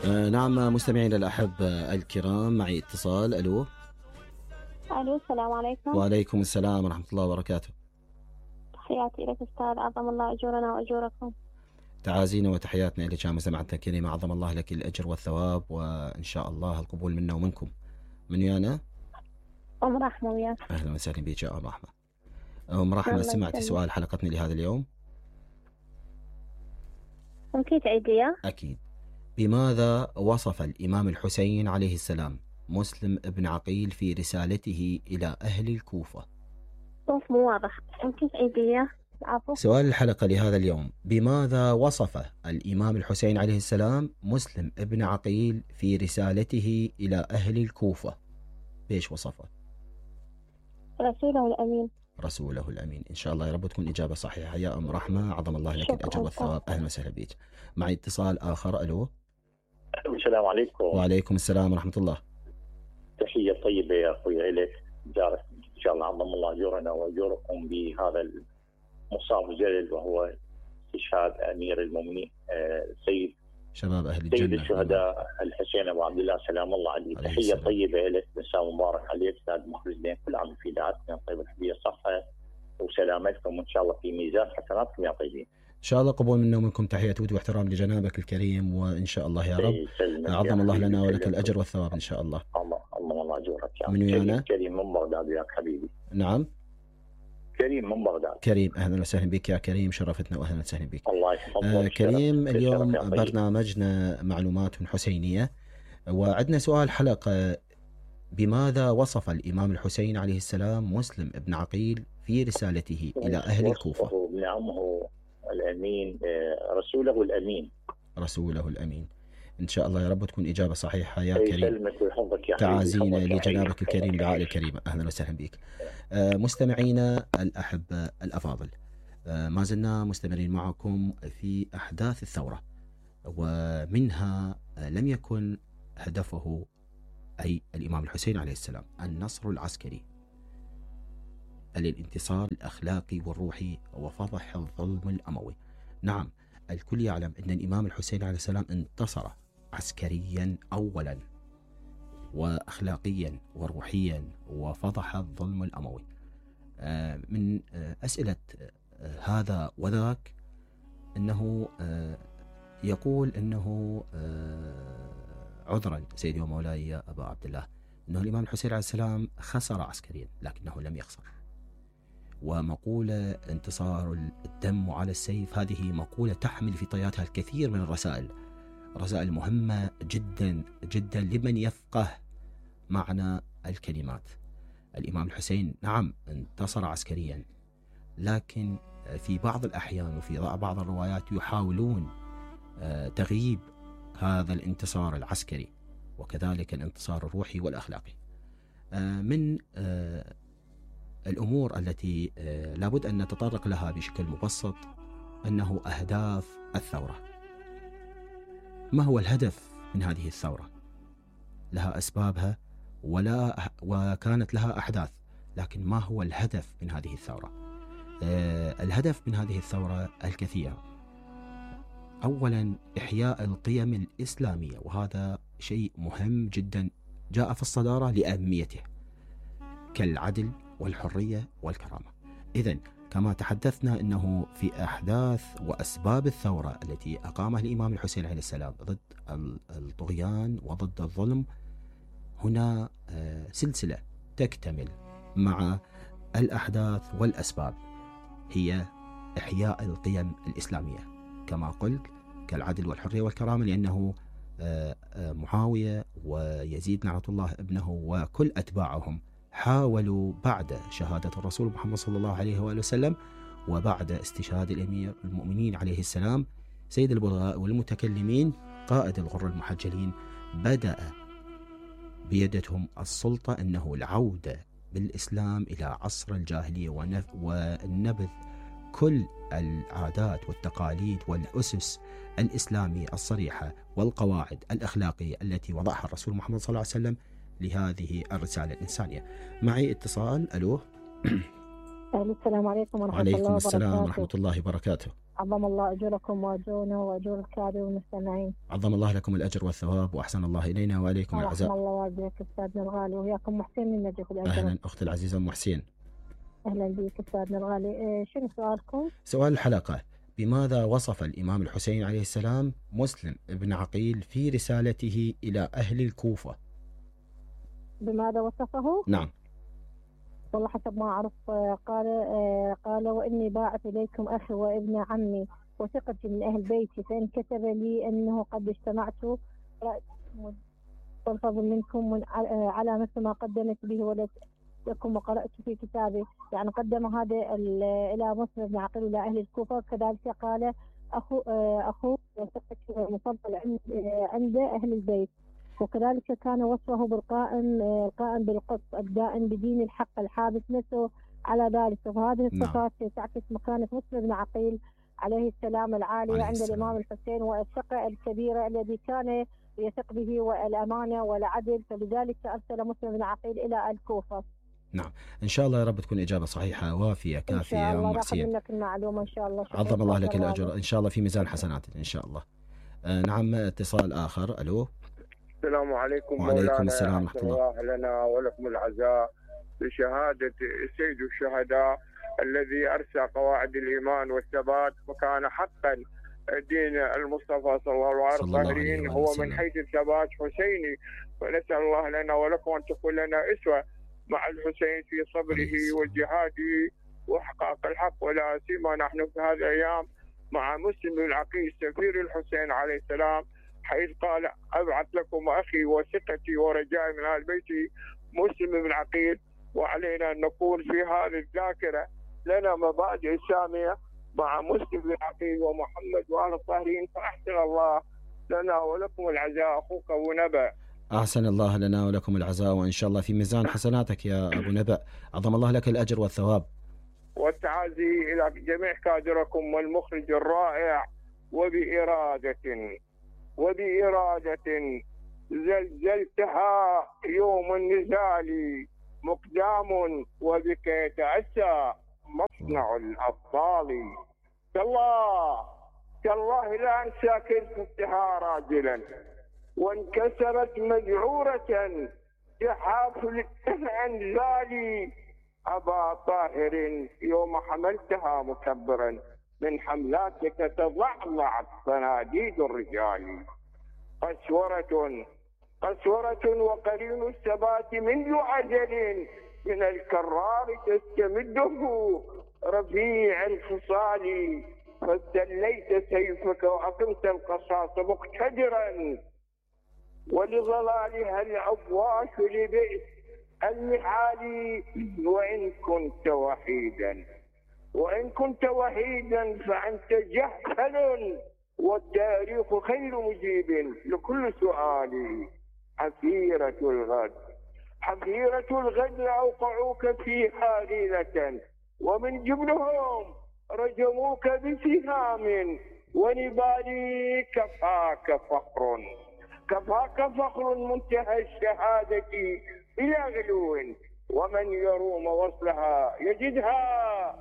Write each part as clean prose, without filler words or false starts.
نعم مستمعينا الأحبة الكرام، معي اتصال. ألو. الو، السلام عليكم. وعليكم السلام ورحمة الله وبركاته. تحياتي لك استاذ، عظم الله اجورنا واجوركم. تعازينا وتحياتنا لك يا مستمعتنا الكريمة، عظم الله لك الأجر والثواب، وإن شاء الله القبول منا ومنكم. من ويانا؟ ام رحمة وياك. أهلا وسهلا بك يا أم رحمة. أم رحمة، سمعتي سؤال حلقتنا لهذا اليوم؟ ممكن تعيد لي؟ أكيد. بماذا وصف الإمام الحسين عليه السلام مسلم ابن عقيل في رسالته إلى أهل الكوفة؟ صوت مو واضح، ممكن تعيد لي؟ عفوا. سؤال الحلقة لهذا اليوم: بماذا وصف الإمام الحسين عليه السلام مسلم ابن عقيل في رسالته إلى أهل الكوفة؟ بيش وصفه؟ رسوله الأمين. رسوله الأمين. إن شاء الله يا رب تكون إجابة صحيحة يا أم رحمة، عظم الله لك الأجر والثواب. أهلا وسهلا بك. معي اتصال آخر. ألو. السلام عليكم. وعليكم السلام ورحمة الله. تحية طيبة يا أخوي إليك، جارك إن شاء الله، عظم الله أجورنا وأجوركم بهذا المصاب الجليل، وهو استشهاد أمير المؤمنين سيد شباب أهل الجنة، سيد الشهداء الحسين أبو عبد الله سلام الله عليه. تحية طيبة إليك، مساء مبارك عليك أستاذ مخلصين، كل عام في دعاتنا طيب الحبية صحة وسلامتكم، وإن شاء الله في ميزان حسناتكم يا طيبين. إن شاء الله قبول منا ومنكم. تحية ود واحترام لجنابك الكريم، وإن شاء الله يا رب عظم الله لنا ولك الأجر والثواب إن شاء الله. الله أجورك يا من ويانا؟ كريم من بغداد وياك حبيبي. نعم كريم من بغداد. كريم، أهلا وسهلا بك يا كريم، شرفتنا وأهلا وسهلا بك. الله يحفظك. كريم، اليوم برنامجنا معلومات حسينية، وعندنا سؤال حلقة: بماذا وصف الإمام الحسين عليه السلام مسلم ابن عقيل في رسالته إلى أهل الكوفة؟ نعمه الأمين، رسوله الأمين. رسوله الأمين. إن شاء الله يا رب تكون إجابة صحيحة يا كريم. يسلمك ويحفظك يا تعازينا لجنابك الكريم، العائلة الكريمة. أهلا وسهلا بك. مستمعينا الأحبة الأفاضل، ما زلنا مستمرين معكم في أحداث الثورة، ومنها لم يكن هدفه أي الإمام الحسين عليه السلام النصر العسكري، بل الانتصار الأخلاقي والروحي وفضح الظلم الأموي. نعم، الكل يعلم أن الإمام الحسين عليه السلام انتصر عسكريا أولا، وأخلاقيا وروحيا، وفضح الظلم الأموي. من أسئلة هذا وذاك أنه يقول أنه عذرا سيدي ومولاي يا أبا عبد الله، أنه الإمام الحسين عليه السلام خسر عسكريا لكنه لم يخسر. ومقولة انتصار الدم على السيف هذه مقولة تحمل في طياتها الكثير من الرسائل، رسائل مهمة جدا جدا لمن يفقه معنى الكلمات. الإمام الحسين نعم انتصر عسكريا، لكن في بعض الأحيان وفي بعض الروايات يحاولون تغييب هذا الانتصار العسكري، وكذلك الانتصار الروحي والأخلاقي. من الأمور التي لابد أن نتطرق لها بشكل مبسط أنه أهداف الثورة. ما هو الهدف من هذه الثورة؟ لها أسبابها وكانت لها أحداث، لكن ما هو الهدف من هذه الثورة؟ الهدف من هذه الثورة الكثير. أولا إحياء القيم الإسلامية، وهذا شيء مهم جدا جاء في الصدارة لأهميته، كالعدل والحرية والكرامة. إذن كما تحدثنا أنه في أحداث وأسباب الثورة التي أقامها الإمام الحسين عليه السلام ضد الطغيان وضد الظلم، هنا سلسلة تكتمل مع الأحداث والأسباب، هي إحياء القيم الإسلامية كما قلت كالعدل والحرية والكرامة، لأنه معاوية ويزيد لعنة الله ابنه وكل أتباعهم حاولوا بعد شهادة الرسول محمد صلى الله عليه وآله وسلم، وبعد استشهاد الأمير المؤمنين عليه السلام سيد البلغاء والمتكلمين قائد الغر المحجلين، بدأ بيدهم السلطة أنه العودة بالإسلام إلى عصر الجاهلية ونبذ كل العادات والتقاليد والأسس الإسلامية الصريحة والقواعد الأخلاقية التي وضعها الرسول محمد صلى الله عليه وسلم لهذه الرسالة الإنسانية. معي اتصال. ألو. السلام عليكم ورحمة الله وعليكم السلام وبركاته. ورحمة الله وبركاته. عظم الله أجوركم وأجورنا وأجور الكادر والمستمعين. عظم الله لكم الأجر والثواب وأحسن الله إلينا وإليكم العزاء. رحم الله والديك أستاذنا الغالي وياكم محسن من نجف الأجر. أهلا أختي العزيزة أم حسين. أهلا بك أستاذنا الغالي. شنو سؤالكم؟ سؤال الحلقة: بماذا وصف الإمام الحسين عليه السلام مسلم بن عقيل في رسالته إلى أهل الكوفة؟ بماذا وصفه؟ نعم. والله حسب ما أعرف قال وإني باعث إليكم أخي وابن عمي وثقتي من أهل بيتي، فإن كتب لي أنه قد اجتمعت والفضل منكم على مثل ما قدمت به ولكم وقرأت في كتابي. يعني قدم هذا إلى مسلم بن عقيل إلى أهل الكوفة. كذلك قال أخوه وثقتي المفضل عند أهل البيت. وكذلك كان وصفه القائم بالقسط الدائم بدين الحق الحابس نفسه على ذلك. وهذه الصفات تعكس مكانة مسلم بن عقيل عليه السلام العالية عند الإمام الحسين والثقة الكبيرة الذي كان يثق به والأمانة والعدل، فلذلك أرسل مسلم بن عقيل إلى الكوفة. نعم، إن شاء الله يا رب تكون إجابة صحيحة وافية كافية يا أم حسين. منك المعلومة إن شاء الله. عظم الله لك الأجر إن شاء الله في ميزان حسناتك إن شاء الله. نعم، اتصال آخر. ألو. السلام عليكم. وعليكم السلام ورحمة الله. لنا ولكم العزاء بشهادة سيد الشهداء الذي أرسى قواعد الإيمان والثبات، وكان حقا دين المصطفى صلى الله عليه وسلم هو من حيث الثبات حسيني. ونسأل الله لنا ولكم أن تكون لنا أسوة مع الحسين في صبره وجهاده وإحقاق الحق، ولا سيما نحن في هذه الأيام مع مسلم بن عقيل سفير الحسين عليه السلام، حيث قال أبعث لكم أخي وثقتي ورجائي من أهل بيتي مسلم بن عقيل. وعلينا أن نقول في هذه الذاكرة لنا مبادئ سامية مع مسلم بن عقيل ومحمد وآل الطاهرين، فأحسن الله لنا ولكم العزاء. أخوك أبو نبأ. أحسن الله لنا ولكم العزاء، وإن شاء الله في ميزان حسناتك يا أبو نبأ. عظم الله لك الأجر والثواب. والتعازي إلى جميع كادركم والمخرج الرائع. وبإرادة زلزلتها يوم النزال مقدام، وبك يتأسى مصنع الأبطال. تالله لا أنسى كيف افتها راجلا وانكسرت مذعورة بحافل أنزالي أبا طاهر يوم حملتها مكبرا من حملاتك تضعضعت صناديد الرجال. قسورة وقرين الثبات منذ أجل من الكرار تستمده رفيع الخصال، فاستليت سيفك وأقمت القصاص مقتدرا، ولظلالها الأفواش لبئس المحال. وإن كنت وحيدا فأنت جهل، والتاريخ خير مجيب لكل سؤال. حفيرة الغد أوقعوك فيها ليلة، ومن جبلهم رجموك بسهام، ونبالي كفاك فخر منتهى الشهادة إلى غلو، ومن يروم وصلها يجدها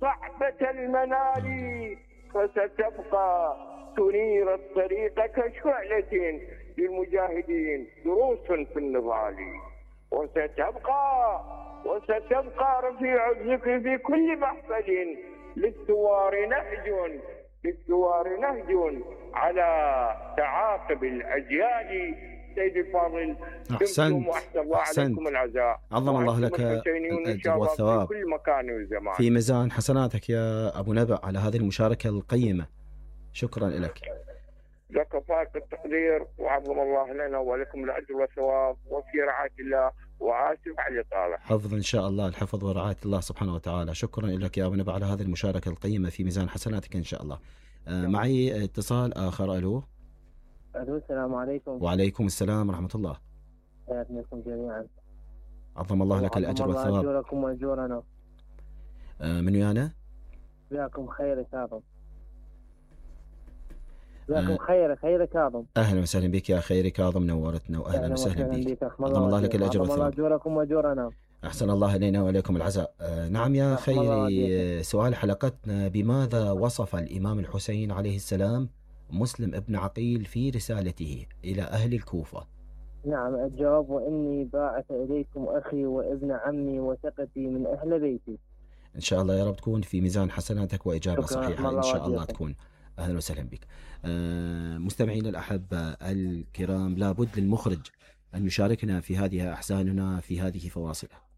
صعبة المنال. فستبقى تنير الطريق كشعلة للمجاهدين دروس في النضال. وستبقى رفيع الذكر في كل محفل للثوار نهج على تعاقب الأجيال. سيد الفاضل، أحسنت. عليكم العزاء. عظم الله لك الأجر والثواب في كل مكان وزمان. في ميزان حسناتك يا أبو نبأ على هذه المشاركة القيمة. شكرا لك. لك فائق التقدير، وعظم الله لنا ولكم الأجر والثواب، وفي رعاية الله، وآسف على الإطالة. حفظ إن شاء الله، الحفظ ورعاية الله سبحانه وتعالى. شكرا لك يا أبو نبأ على هذه المشاركة القيمة في ميزان حسناتك إن شاء الله. معي اتصال آخر. ألو. السلام عليكم. وعليكم السلام ورحمة الله. حياكم جميعا. عظم الله لك الأجر والثواب. أجوركم وأجورنا. من ويانا؟ جزاكم خير كاظم. جزاكم خير كاظم. أهلا وسهلا بك يا خير كاظم، نورتنا وأهلا وسهلا بك. عظم الله لك الأجر والثواب. أجوركم وأجورنا. أحسن الله إلينا وإليكم العزاء. نعم يا خيري، سؤال حلقتنا: بماذا وصف الإمام الحسين عليه السلام مسلم ابن عقيل في رسالته إلى أهل الكوفة؟ نعم، الجواب: وإني باعث إليكم أخي وابن عمي وثقتي من أهل بيتي. إن شاء الله يا رب تكون في ميزان حسناتك وإجابة صحيحة إن شاء الله تكون. أهلا وسهلا بك. مستمعينا الأحبة الكرام، لابد للمخرج أن يشاركنا في هذه أحزاننا في هذه فواصله.